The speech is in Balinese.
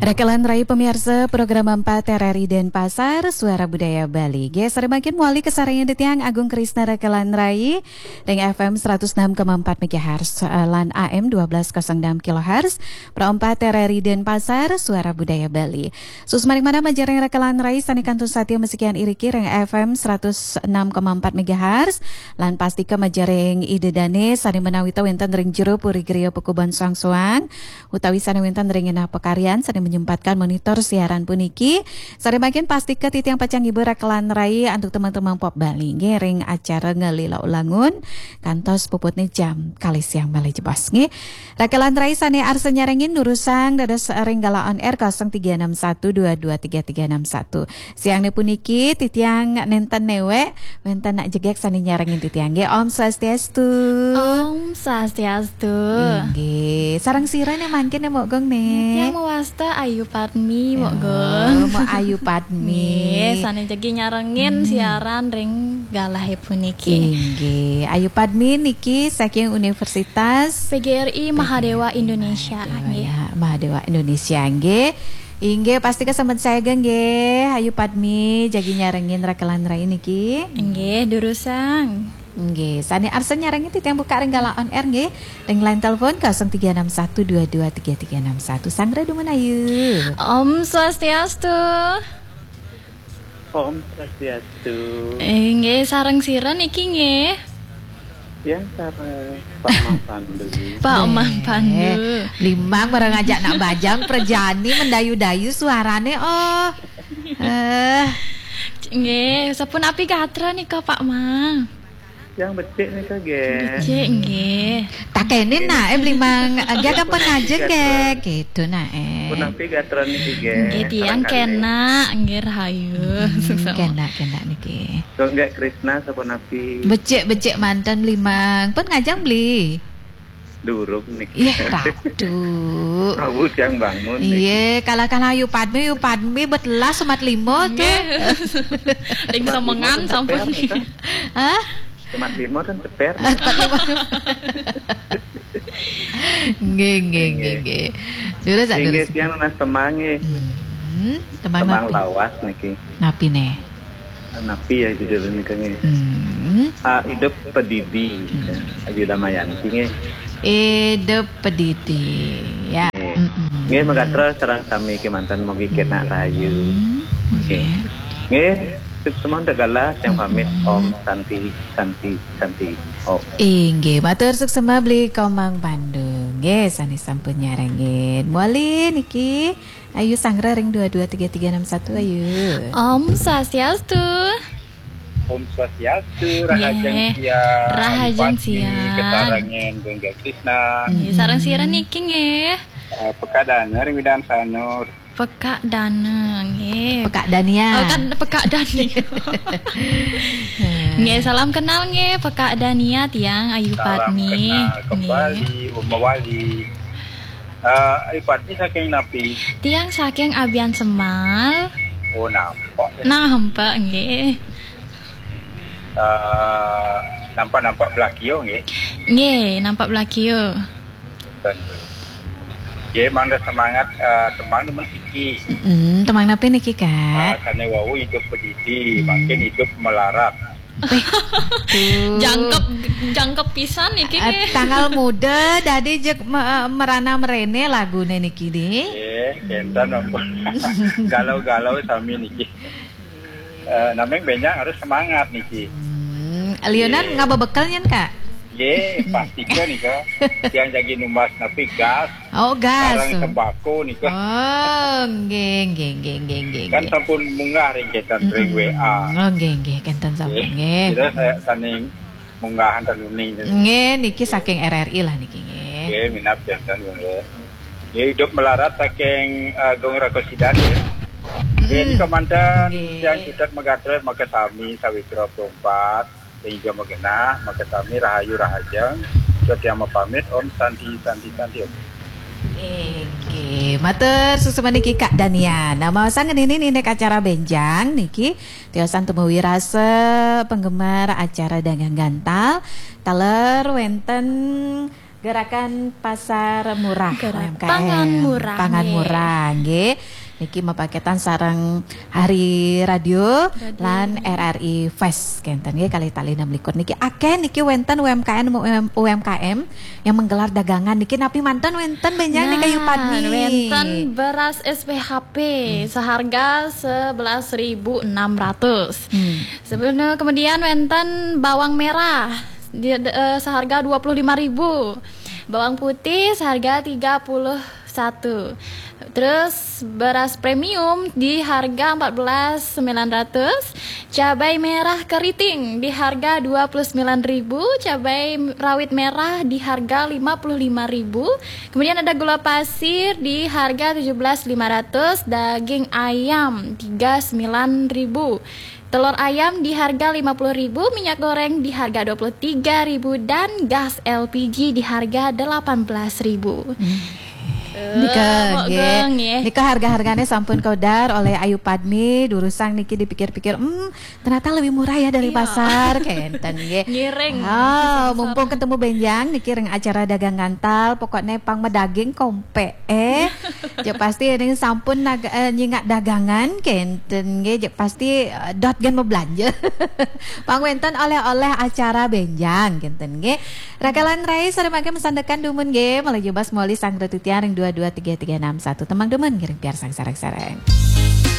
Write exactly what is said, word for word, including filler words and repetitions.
Rakelan Rai, pemirsa program empat R R I Denpasar, Suara Budaya Bali. Nggih, sareng mangkin malih kasarengin titiang Agung Krisna Rakelan Rai ring F M seratus enam koma empat megahertz, eh, lan A M dua belas kosong enam kilohertz, Pro empat R R I Denpasar, Suara Budaya Bali. Suksmaning manah majeng ring Rakelan Rai sane kantun satia masikian iriki ring F M seratus enam koma empat megahertz, lan pastika majeng ring Ida Dane sane menawita wenten ring jero puri griya Pakuban Soang-Soang, utawi sane wenten ring genah pakaryan sane menyempatkan monitor siaran puniki. Sare mangkin pastika titiang pacang ngibur Rakelan Rai antuk teman-teman pop Bali nggih ring acara Ngelila Ulangun kantos puputne jam kalih siang malih jebos nggih. Rakelan Rai sane arsa nyarengin durusang dados ring galah on air kosong tiga enam satu dua dua tiga tiga enam satu. Siangne puniki titiang nenten newek, wenten nak jegek sane nyarengin titiang nggih. Om Swastiastu. Om Swastiastu. Inggih. Sareng sira ne mangkin ne Mbok Gung ne? Titiang mawasta Ayu Padmi, Mbok Gung. Oh, Mbok Ayu Padmi. Nggih, sane jagi nyarengin siaran ring galahe puniki. Inggih. Ayu Padmi niki saking Universitas P G R I Mahadewa Indonesia, nggih. Ya, Mahadewa Indonesia nggih. Inggih, pastika sampun sae nggih, Ayu Padmi jagi nyarengin Rakelan Rai niki. Inggih, durusang. Nggih, sane arsa nyarengin titiang buka ring galah on air nggih. Ring line telepon kosong tiga enam satu dua dua tiga tiga enam satu. Sanggra dumun Ayu. Om Swastiastu. Om Swastiastu. Eh, nggih, sareng sira niki nggih? Ya, sareng Pak Mang Pandu. Pak Mang Pandu. Limang barang ajak nak bajang prajani mendayu-dayu suarane, oh. Eh. Nggih, sapunapi gatra nika, Pak Mang? Yang becik nika, nggih. Becik nggih. Takene nak, eh, Bli Mang, eh, nggih, ampun ngajeng nggih, gitu nak, eh. Punapi gatra niki, nggih? Nggih, tiang kenak, nggih, rahayu. Hmm, kenak, kenak niki. Kok nggih Krisna sapunapi? Becik-becik manten, Bli Mang. Pun ngajeng, Bli? Durung niki. Ih, ratu. Prabu tiang bangun niki. Iya, kalah-kalah Ayu Padmi, Ayu Padmi betelas semat lima tuh. Nggih. Ring semengan sampun. Hah? Semat lima kan ceper. Nggih, nggih, nggih, nggih. Terus, nggih, terus. Tiang nunas tembang nggih. Hmm, tembang napi? Tembang lawas niki. Napi ne? Napi ya judul nika nggih? Hmm. Ah, Idup Pedidi. Hmm. Ayu Damayanti nggih. Idup Pedidi. Ya. Nggih. Mm-mm. Nggih, magatra sareng sami kemanten mugi kenak rahayu. Hmm. Nggih. Nggih. Nggih, suksma antuk galah, tiang pamit. Mm-mm. Om Santi, Santi, Santi. Om. Inggih, matur suksma Bli Komang Pandu. Nggih, sane sampun nyarengin. Malih niki Ayu Sanggra ring dua dua tiga tiga enam satu, Ayu. Om Swastiastu. Om Swastiastu, rahajeng siang. Nggih. Rahajeng siang. Ayu Padmi, kasarengin Gung Krisna. Nggih, sareng sira niki nggih? Eh, Pekak Dana ring Widan Sanur. Pekak Dana, nggih. Pekak Dania. Oh, kan Pekak Dania. Nggih, salam kenal nggih, Pekak Dania, tiang Ayu Padmi. Salam kenal kembali, nggih. Uma Wali. Eh, Ayu Padmi saking napi? Tiang saking Abian Semal. Oh, nampak ya. Nampak, nggih. Eh, nampak-nampak Blakio, nggih? Nggih, nampak Blakio. Nggih, mangda semangat, eh, tembang nemen siki. Mm-mm, tembang napi niki, Kak? Ah, sane wau Idup Pedidi, hmm, mangkin Idup Melarat. Eh, tuh. Jangkep, jangkep pisan niki, eh, nggih. Tanggal muda dadi jeg me-, merana merene lagune niki, di. Nggih, kenten ampun. Galau-galau sami niki. Eh, nameng benjang harus semangat niki. Hmm, liunan, nggih, ngaba bekel nyen, Kak? Nggih, pastika nika. Tiang jagi numbas napi gas. Oh, gas. Sareng tembako nika. Oh, nggih, nggih, nggih. Kan sampun munggah ring kenten ring, mm-mm, W A. Oh, nggih, nggih, kenten sampun, nggih. Nggih. Kira saya saning munggahan ten uning. Nggih, niki saking R R I lah niki, nggih. Nggih, minab janten, nggih. Nggih, Idup Melarat saking, eh, Gung Rakosida, nggih. Nggih, mm-mm, nika manten, nggih, tiang cutet magatra makasami sawitra perempat, sehingga magenah, makasami rahayu rahajeng, cutet tiang mapamit, Om Santi, Santi, Santi, Om. Inggih, matur suksma niki Kak Dania. Nah, maosang ngeninin indik acara benjang niki, tiosan tumuju rasa penggemar acara Dagang Gantal, taler wenten Gerakan Pasar Murah Gerak U M K M. Pangan Murah, Pangan nggih. Murah, nggih. Niki mapaketan sareng Hari Radio Radio. Lan R R I Fest kenten nggih, kali tali enam likur niki akeh niki wenten U M K M, U M K M yang menggelar dagangan niki, napi manten wenten benjang nih Kayu Padmi. Wenten beras S P H P seharga sebelas ribu enam ratus. Hmm. Sebelumnya kemudian wenten bawang merah di, eh, seharga dua puluh lima ribu. Bawang putih seharga tiga puluh satu. Terus beras premium di harga empat belas sembilan ratus, cabai merah keriting di harga dua puluh sembilan ribu, cabai rawit merah di harga lima puluh lima ribu. Kemudian ada gula pasir di harga tujuh belas lima ratus, daging ayam tiga sembilan ribu. Telur ayam di harga lima puluh ribu, minyak goreng di harga dua puluh tiga ribu, dan gas L P G di harga delapan belas ribu. Nika, Eh, nggih. nggih. Nika harga-harganya sampun kaudar oleh Ayu Padmi. Durusang niki dipikir-pikir, hmm, ternyata lebih murah ya dari Iya. Pasar, kenten nggih. Ngiring. Ah, mumpung ketemu benjang niki ring acara dagang ngantal, pokoknya pang medaging kompe eh. Jek pasti ini sampun nag- eh, nyingak dagangan kenten nggih, jek pasti eh, dot gen belanja. Pang wenten oleh-oleh acara benjang kenten nggih. Rakalan Rai, sore mangke masandekan dumun nggih, malih jebas moli sang ratu tiang ring dua dua tiga tiga enam satu. Temang dumun ngiring piarsang sareng-sareng.